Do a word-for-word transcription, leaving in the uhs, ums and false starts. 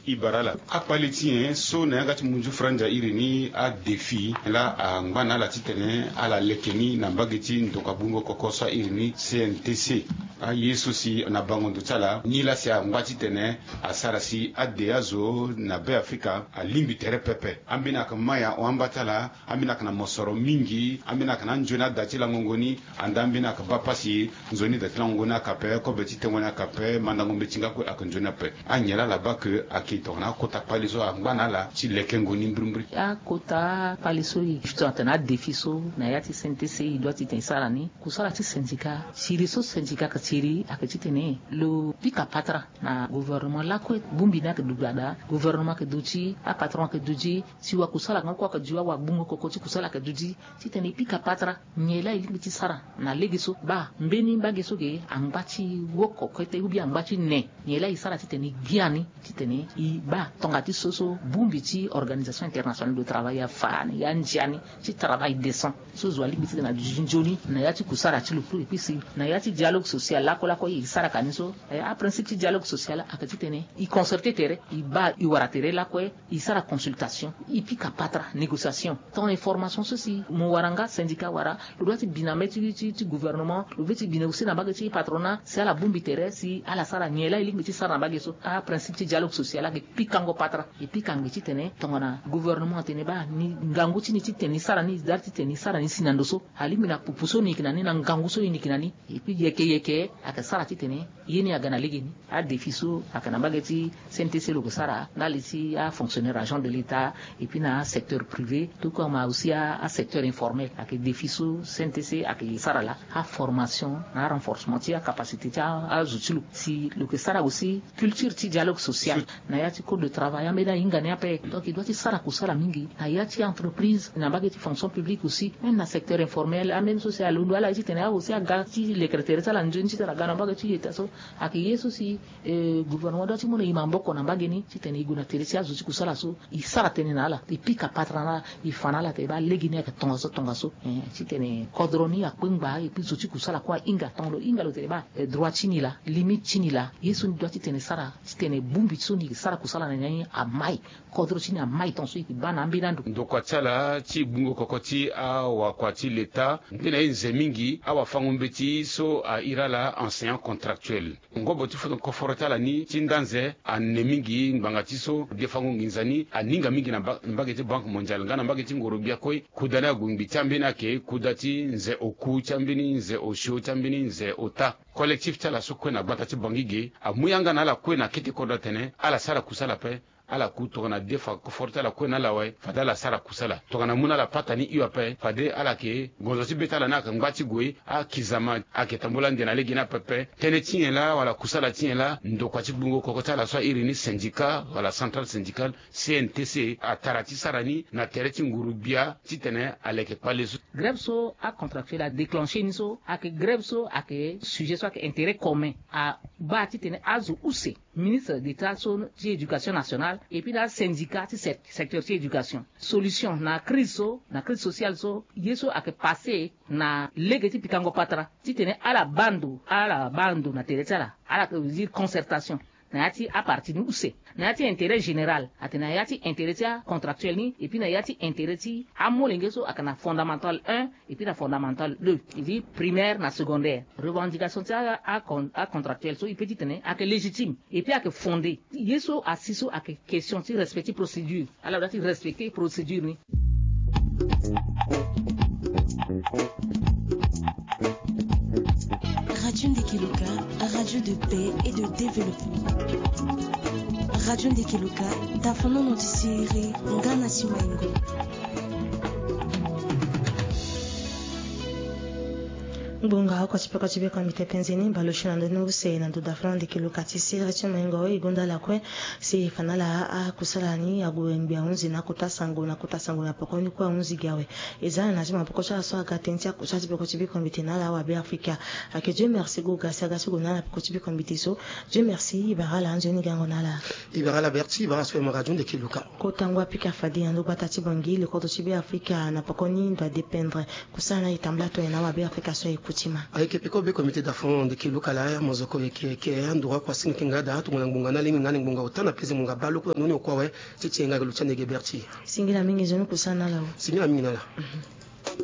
E bara ala akpale ti nyen so na yanga ti munzu franza iri ni adéfi la angba na ala titene ala leke ni na mbage ti ndokua gbungo koko so airi ni C N T C. Aye so si na bango ndo ti ala ni laa si angba titene asara si ade azo na Be Afrika alingbi tere pepe. Ambeni ayeke mai ahon amba ti ala. Ambeni ayeke na mosoro mingi. Ambeni ayeke na anzoni ada ti langongo ni. Anda ambeni ayeke baa pasi. Nzoni da ti lango ni aka pe, kobe ti tengo ni aka pe, mandango mbeti nga kue aka nzoni ape. Anyen laa ala baa ke ake tongana akota kpale so angba na ala ti lekengo ni mbirimbiri. Akota kpale so e tongana tene adéfi so na ya ti C N T C e doit ti tene e sara ni kusala ti syndicat, siri so syndicat aka siri ake titene lo pika patara na gouvernement lakue. Bongbi ni ake dugbada, gouvernement ake duti, apatron ake duti, si wakusala nga kue ake duti, awagbungo koko ti kusala ake duti, titene e pika patara nyen laa e lingbi ti sara na lege so. Baa mbeni mbage so ge angba ti woko kete ou bien angba ti ne, nyen laa e sara titene e gia ni, titene e baa tonga ti so so bongbi ti Organisation Internationale de Travail afa ni, e andia ni ti travail décent so zo alingbi titene aduti nzoni na ya ti kusala ti lo. Epui si na ya ti dialogue social lakue lakue e sara ka ni so, eh, aprincipe ti dialogue social ake titene e concerter tere, e baa e wara tere lakue, e sara consultation, e pika patara négociation. Tongana information so si mo wara nga syndicat wara, lo doit ti bi na mbeti ti, ti gouvernement, lo ve ti bi na aussi na mbage ti patronat, si ala bongbi tere, si ala sara nyen laa e lingbi ti sara na mbage so. Aprincipe ti dialogue social ake pikango patara. E pika ngbii titene tongana gouvernement atene baa ni ngangu ti ni titene e sara ni, e dari titene e sara ni si na ndo so, alingbi na pupu so e yeke na ni, na ngangu so e yeke na ni. Epui yeke yeke ake sara titene ye ni aga na legeni. Adéfi so ake na mbage ti C N T C lo ke sara ndali ti afonctionnaire, agent de l'État, epui na asecteur privé, tout comme aussi asecteur informel. Ake défi so C N T C ake sara laa, aformation na arenforcement ti acapacité ti azo ti lo. Si lo ke sara aussi culture ti dialogue social na ya ti code de travail, ambeni ahinga ni ape. Donc e doit ti sara kusala mingi na ya ti entreprise, na mbage ti fonction publique aussi, même na secteur informel. Ambeni so si alondo ala ye titene a aussi aga ti lekere tere ti ala nzoni titene aga na mbage ti yeta so. Ake ye so si, eh, gouvernement doit ti mu na e maboko na mbage ni titene e gue na tere ti azo ti kusala so, e sara tënë na ala, e pika patara na ala, e fa na ala ate baa lege ni ayeke tongaso tongaso, eh, titene kodro ni akpengba, epui zo ti kusala kue ahinga. Tongana lo hinga lo tene baa, eh, droit ti ni laa, limite ti ni laa, ye so ni doit titene e sara titene bongbi so ni yeke sara kusala na ni amai, kodro ti ni amai tongaso e yeke baa na ambeni ando. Ndokua ti ala ti gbungo koko ti awakua ti leta, nde na ye nze mingi awafango-mbeti so airi ala enseignant contractuel. Ngobo ti foto koforo ti ala ni ti nda nze ane mingi ngbanga ti so defango nginza ni aninga mingi na mba-, mbage ti Banque Mondiale nga na mbage ti ngoro-gbia kue. Kuda ni ague ngbii ti ambeni ayeke kuda ti nze oku, ti ambeni nze osio, ti ambeni nze ota. Collectif ti ala so kue na gbata ti Bangui ge amu yanga na ala kue na kete kodro atene ala sara kusala ape. Ala ku tongana defa koforo ti ala kue na ala awe, fade ala sara kusala. Tongana amu na ala pata ni hio ape, fade ala yeke gonzo ti be ti ala ni ayeke ngba ti gue, akizama ayeke tambula ande na legeni ape. Tënë ti nyen laa wala kusala ti nyen laa ndokua ti gbungo koko ti ala so airi ni syndicat wala centrale syndicale C N T C atara ti sara ni na tere ti nguru-gbia titene aleke kpale so? Grève so acontractuel adéclenché ni so ayeke grève so ayeke sujet so ayeke intérêt commun. Abaa titene azo use ministre d'État so ti éducation nationale epui na asyndicat ti sec-, secteur ti éducation solution na crise so, na crise sociale so, ye so ayeke passé na lege ti pikango patara titene ala baa ndo, ala baa ndo na tere ti ala, ala veut dire concertation na ya ti aparti ni use, na ya ti intérêt général, atene na ya ti intérêt ti acontractuel ni epui na ya ti intérêt ti amolenge so ayeke na fondamental un epui na fondamental deux, e dit primaire na secondaire. Revendication ti a, a, acontractuel so e peut ti tene ayeke légitime epui ayeke fondé. Ye so asi so ayeke question ti respect ti procédure. Ala doit ti respecter procédure ni. Radio Ndeke Loka, radio de paix et de développement. Radio Ndeke Loka, tafonono ti sere nga na si maingo. Ngbonga oko ti peko ti biko mbi te penze ni baleuse na ndö ni use na ndö dafonono Ndeke Loka ti sere ti maingo. E gonda lakue si e fa na ala akusala ni ague ngbi ahunzi na kota sango, na kota sango na peko ni kue ahunzi gi awe. E za na ti maboko ti ala so aga tënë ti akusa ti peko ti biko mbi te na ala awabe Afrika. Ayeke Dieu merci go ga si aga ti gue na ala peko ti biko mbi te so. Dieu merci, e bara ala anzoni gango na ala. E bara ala Berti, e bara ala so aye mo radio Ndeke Loka. Kota ngu apika fade na ndo gbata ti Bangui, le kodro ti Be Afrika na peko ni ndo adépendre. Kusala ni ayeke tambula tongana awabe Afrika so aye ku. Tima. Ayeke peko be comité d'enfant de Kelukala, mo zo ko yeke yeke andura kua singi kenga da tongana ngbonga na limi nga ni ngbonga ota na peze ngbonga balo kula noni okua we. Ti ti enga ga lutia ndege berti. Singila mingi zo ni kusa na la. Singila mingi na la.